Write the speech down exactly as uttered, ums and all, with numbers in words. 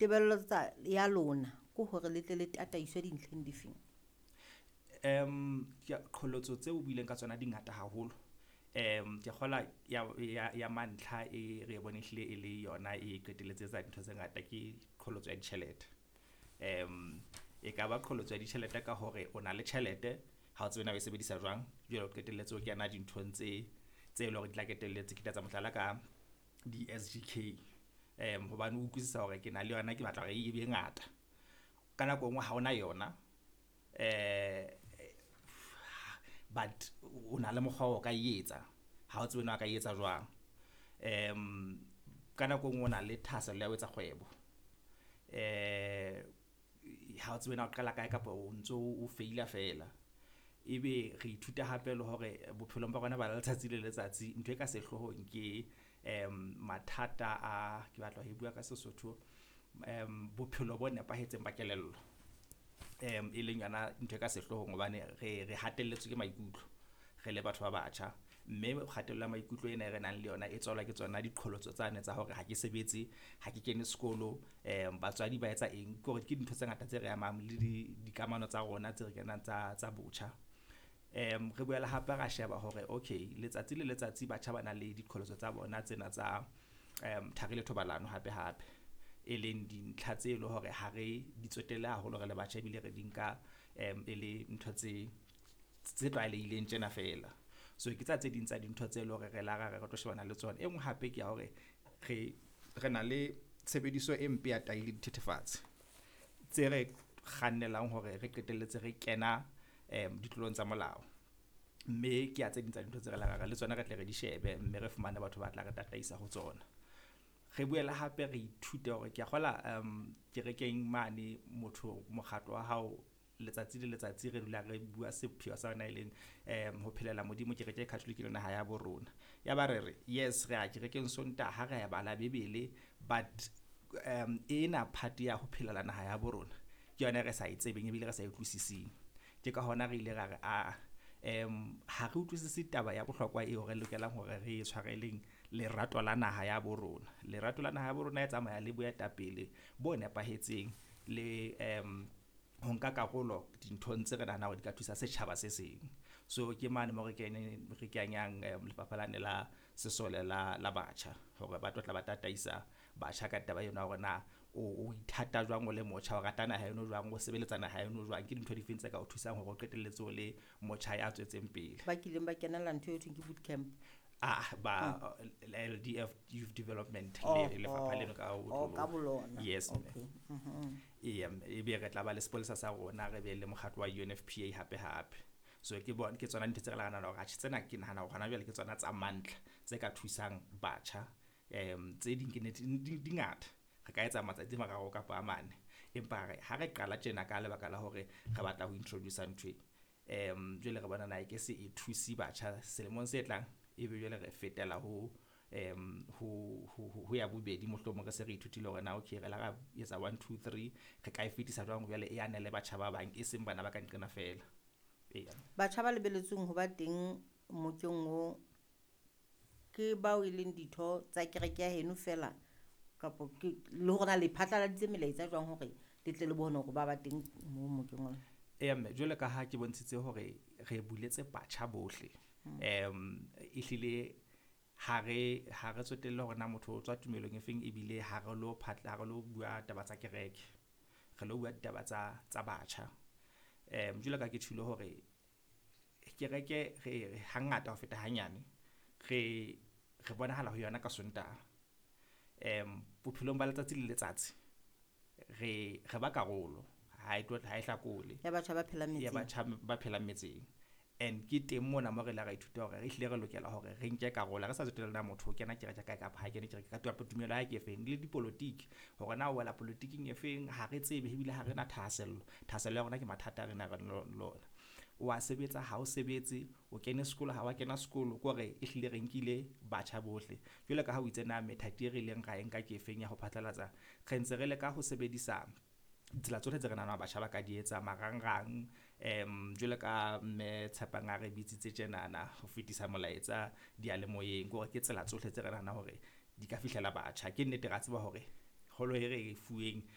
Tebello tsa ya lona ke hore le tle le tataiswe dintlheng difeng? Um ke qholotso tseo o buileng ka tsona di ngata haholo. Um ke kgola ya ya ya mantlha e re bone ehlile e le yona e qetelletse etsa dintho tse ngata ke qholotso ya ditjhelete. Um e ka ba qholotso ya ditjhelete ka hore o na le tjhelete ha o tsebe na o e sebedisa jwang. Jwale o qetelletse o kena dinthong tse tse leng hore di tla qetelletse ke tla etsa mohlala ka di-S_G_K. Um hobane o utlwisisa hore ke na le yona, ke batla hore e be ngata. Ka nako e nngwe ha ona yona but o na le mokgwa o ka e etsa ha o tsebe na o ka e etsa jwang. Um ka nako e nngwe o na le thahasello ya ho etsa kgwebo ha o tsebe na o qala kae kapa o ntso o feila feela. Ebe re ithuta hape le hore bophelong ba rona ba letsatsi le letsatsi ntho e ka sehloohong ke mathata a ke batla ho e bua ka Sesotho bophelo bo nepahetseng ba kelello. E leng yona ntho e ka sehloohong hobane re re hatelletswe ke maikutlo re le batho ba batjha. Mme kgatello ya maikutlo ena e re nang le yona e tswalwa ke tsona diqholotso tsane tsa hore ha ke sebetse, ha ke kene sekolo, batswadi ba etsa eng. Ke hore ke dintho tse ngata tse re amang le di dikamano tsa rona tse re kenang tsa tsa botjha. Re boele hape ra sheba hore okay letsatsi le letsatsi batjha ba na le diqholotso tsa bona tsena tsa thari le thobalano hape hape. E leng dintlha tse leng hore ha re di tsotelle haholo re le batjha ebile re di nka e le ntho tse tse tlwaelehileng tjena feela. So ke tsa tse ding tsa dintho tse leng hore re la ra re tlo shebana le tsona. E nngwe hape ke ya hore re re na le tshebediso e mpe ya tai le dithethefatsi tse re kgannelang hore re qetelletse re kena ditlolong tsa molao. Mme ke ya tse ding tsa dintho tse re la ra le tsona re tle re di shebe mme re fumane batho ba tla re tataisa ho tsona. Re boele hape re ithute hore ke a kgola kerekeng mane motho mokgatlo wa hao letsatsi le letsatsi re dula re bua sepheo sa yona e leng ho phelela Modimo kereke e Catholic le naha ya bo rona. Ya ba re re yes re ya kerekeng Sontaha re bala Bebele but ena part ya ho phelela naha ya bo rona ke yona e re sa e tsebeng ebile re sa e utlwisising. Ke ka hona re ile ra re aa ha re utlwisise taba ya bohlokwa eo re lokelang hore re e tshwareleng lerato la naha ya bo rona. Lerato la naha ya bo rona e tsamaya le boetapele bo nepahetseng le ho nka karolo dinthong tse re nahanang hore di ka thusa setjhaba se seng. So ke mane moo re keneng re kenyang lefapha lane la sesole la la batjha hore ba tlo tla ba tataisa batjha ka taba ena ya hore na o o ithata jwang o le motjha, o rata naha eno jwang, o sebeletsa naha eno jwang. Ke dintho difeng tse ka o thusang hore o qetelletse o le motjha ya tswetseng pele. Ba kileng ba kenela ntho e thweng ke boot camp. Ah ba L D F Youth Development Oh, le lefapha leno ka oh, ka bolona. Yes. Okay. Mhm. Eya, ebe re tla ba le sepolesa sa rona, re be le mokgatlo wa U N F P A hape hape. So ke bona ke tsona dintho tse re nahanang hore atjhe tsena ke nahana hore hona jwale ke tsona tsa mantlha tse ka thusang batjha. Um tse ding ke nnete di di ngata. Re ka etsa matsatsi a mararo kapa a mane. Empa re ha re qala tjena ka lebaka la hore re batla ho introduce ntho e um jwale re bona na e ke se e thuse batjha selemong se tlang ebe jwale re fetela ho um ho ho ho ya bobedi mohlomong re se re ithutile hore na okay re la ra etsa one two three re ka e fetisa jwang jwale e anele batjha ba bang e seng bana ba ka nqena feela. Eya. Batjha ba lebelletsweng ho ba teng mokeng o ke bao e leng ditho tsa kereke ya heno feela kapo ke le hore na le phatlaladitse melaetsa jwang hore le tle le bone hore ba ba teng moo mokeng ona? Eya mme jwalo ka ha ke bontshitse hore re buletse batjha bohle. Um ehlile ha re ha re tsotelle hore na motho o tswa tumelong e feng ebile ha re lo phatla ha re lo bua taba tsa kereke. Re lo bua ditaba tsa tsa batjha. Um jwalo ka ke tjholo hore kereke re hangata ho feta hanyane re re bonahala ho yona ka Sontaha. Um bophelong ba letsatsi le letsatsi re re ba karolo ha e tlo ha e hlakole Ya batjha ba phelang ya metseng. Batjha ba phelang metseng. And ke teng mona mo re ile ra ithuta hore re hlile re lokela hore re nke karolo re sa tsotelle na motho o kena kereke kae kapa ha kene kereke ka kapa tumelo ya hae ke efeng le dipolotiki hore na o wela polotiking e feng ha re tsebe ebile ha re na thahasello. Thahasello ya rona ke mathata a re nang le lona. O a sebetsa ha o sebetse, o kene sekolo ha wa kena sekolo ke hore ehlile re nkile batjha bohle. Jwalo ka ha o itse na methati e re ileng ra e nka ke efeng ya ho phatlalatsa, re ntse re leka ho sebedisa ditsela tsohle tse re nahanang batjha ba ka di etsa marangrang um jwalo ka mme Tshepang a re bitsitse tjenana ho fetisa molaetsa diyalemoyeng ke hore ke tsela tsohle tse re nahanang hore di ka fihlela batjha. Ke nnete ra tseba hore holo e re e fuweng